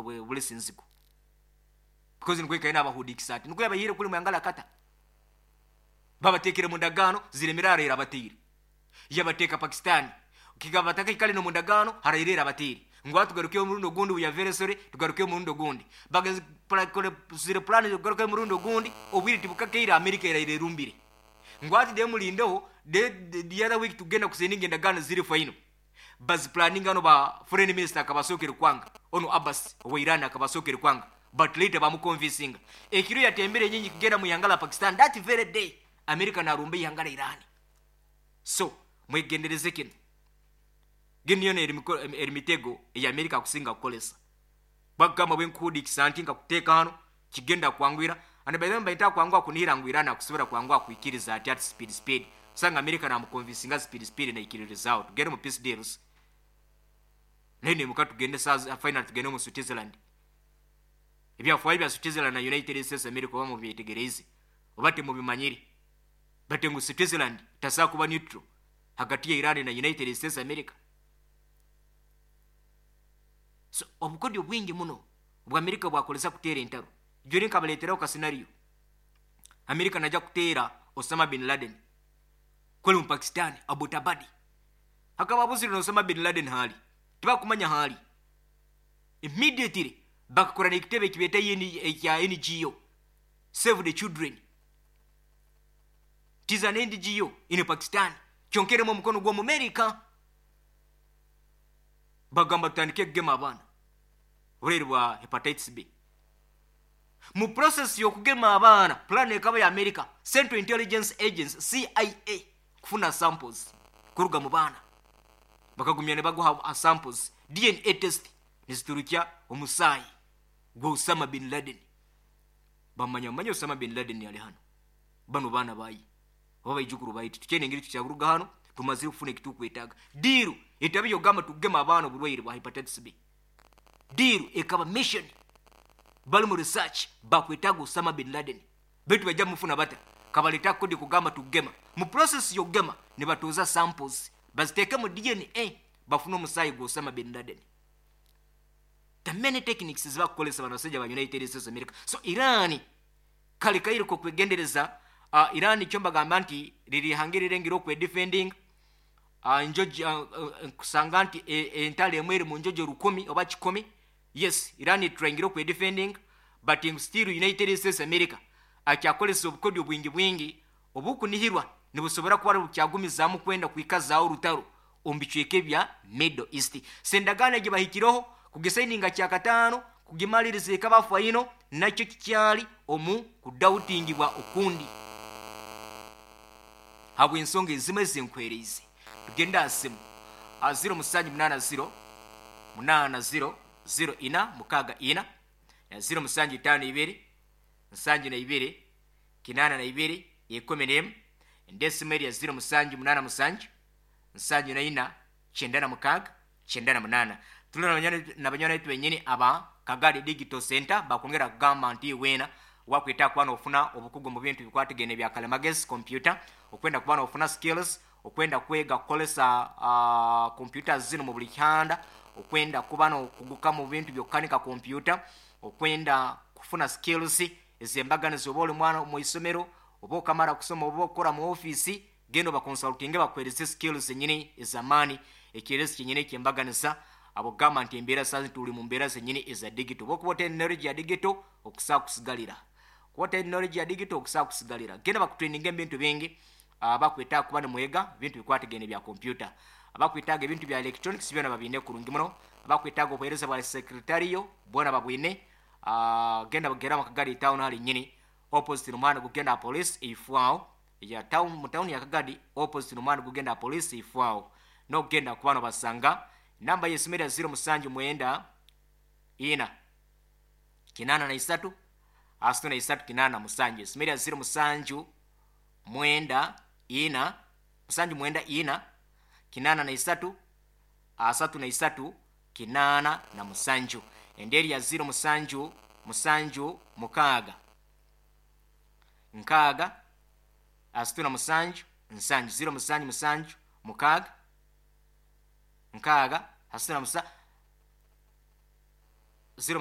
Bulesa enzigu because nikwo ikaire nabahudiikisa ati nikwo yabaihire kuri mwihanga rya Qatar babateekire mu ndagaano ziremire haraire abateire yabateeka Pakistan kigaba batakaikare nomu ndagaano haraire erabateire ngu hati tugarukeyo omurundi ogundi we are very sorry tugarukeyo omurundi ogundi bagezire plan zokugarukayo omurundi ogundi obwire tibukakaire America eraire erumbire ngu hati de murindeho de the other week tugenda kusayininga endagaano ziri final Bazipulaninga hanu ba foreign minister akaba asookere kwanga, onu Abbas owa Iran akaba asookere kwanga but later bamukonvinsinga. Ekiro yatembire enyonyi kugenda mu ihanga la Pakistan that very day America narumba eihanga la Iran. So mwegendereze kinu. Ginu yona eri mitego eyi America akusinga kukoresa. Bakugamba bwenkuhudiikisa nti nkakuteeka hanu kigenda kukwanguhira and by the way nibaita kwanguha kunihira ngu Iran akusobora kwanguha kwikiriza ati ati speed speed osanga America namukonvinsinga speed speed naikiririzaaho tugende omu peace deals nayo nemuka tugende saaha finally tugende omu Switzerland ebyafaayo bya Switzerland na United States America oba mubyetegereize oba timubimanyire but ngu Switzerland tasobola kuba neutral hagati ya Iran na United States America so obukodyo bwingi muno obu Amerika bwakoresa kuteera entaro. Jori nkabareeteraho ka scenario. Amerika naija kuteera Osama bin Laden ku ari omu Pakistan, Abbottabad. Hakaba habuzire na Osama bin Laden ahu ari. Tibakumanya ahu ari. Immediately bakakora n'ekitebe eki beeta ekya NGO, Save the Children. It is an NGO in Pakistan kyonka erimu omukono gw'Omumerika. Bagamba tutandike kugema abaana. Oburwaire bwa Hepatitis B. Mu process y'okugema abaana, plan ekaba ya America Central Intelligence Agency, CIA, kufuna samples kuruga mu baana. Bakagumya nibaguha samples, DNA test niziturukya omusaayi gwa Osama bin Laden. Bamanya manya Osama bin Laden ari hanu, banu baana baye oba baijukuru baye titukyaine engeri tukyaruga hanu tumazire kufuna ekitukwetaaga. Deal etaba ey'okugamba tugema abaana oburwaire bwa Hepatitis B. Deal ekaba mission bali mu research bakwetaaga Osama bin Laden baitu baija mufuna bata kabaleta kodi kugamba tugema mu process yokugema nibatooza samples baziteeke mu DNA bafune omusaayi gwa Osama bin Laden the many techniques ezibakukolesa bano basaija ba United States of America so Iran kale kaire kokwegendereza uh, Iran nikyo mbagamba nti riri ihanga erirengire okwedefendinga Nkusanga nti entalo emwe eri munjojo rukumi oba kikumi, yes Iran etryingire okwedefendinga but ngu still United States America akyakoresa obukodyo bwingi bwingi obukunihirwa nibusobora kuba bukyagumizaamu kwenda kwikazaaho orutaro omu bicweka ebya Middle East. So endagaano egi bahikireho kugisayininga kyakataano kugimaririza ekaba final nakyo kikyari omu kudoubtingibwa okundi. Habw'ensonga ezimwe ezi nkuheereize, tugende aha simu aha ziro musanju munaana ziro, munaana ziro, ziro ina, mukaaga ina, na ziro musanju itaano ibiri, nsanju na ibiri, kinaana na ibiri, ikumi n'emwe. Endi esimu eri ya ziro musanju munaana musanju, nsanju na ina, kyenda na mukaaga, 98. Turi na banywani baitu benyini aba Kagadi Digital Centre bakwongera kugamba nti weena wakwetaaga kuba nofuna obukugu omu bintu ebikwatagaine ebya kalimagezi, computer, okwenda kuba nofuna skills, okwenda kwega kukoresa computers zinu mu buri kihanda, okwenda kuba nokuguka mu bintu by'okukanika computer, okwenda kufuna skills ez'embaganiza oba ori mwana omu isomero, oba okamara kusoma oba okukora mu ofiisi, Genda obakonsultinge bakuheereze skills zenyini ez'amaani, ekyererezi kyenyini eky'embaganiza ahabw'okugamba nti embeera saaha zinu turi mu mbeera zenyini eza digital. Obu okuba otaine knowledge ya digital, okusobola kusigarira. Kuba otaine knowledge ya digital, okusobola kusigarira. Genda bakutraininge omu bintu bingi, abakwetaaga kuba nimwega ebintu bikwatagaine ebya computer, abakwetaaga ebintu bya electronics byona babiine kurungi muno, abakwetaaga obuheereza bwa secretarial bwona babwine. Genda bagere omu Kagadi town harinyini opposite n'omuhanda gukugenda aha police eifo aho. Ya town mu town ya Kagadi opposite nomuhanda gugenda aha police ifo aho nokugenda kuba nobasanga. Number yesimu eri ya ziro musanju mwenda ina kinana na isatu asatu na isatu kinana na musanju. Esimu eri ya ziro musanju mwenda ina musanju mwenda ina kinana na isatu asatu na isatu kinana na musanju. Endi eri ya ziro musanju musanju mukaaga nkaaga asatu na musanju nsanju ziro musanju musanju mukaaga nkaaga asatu na musa ziro.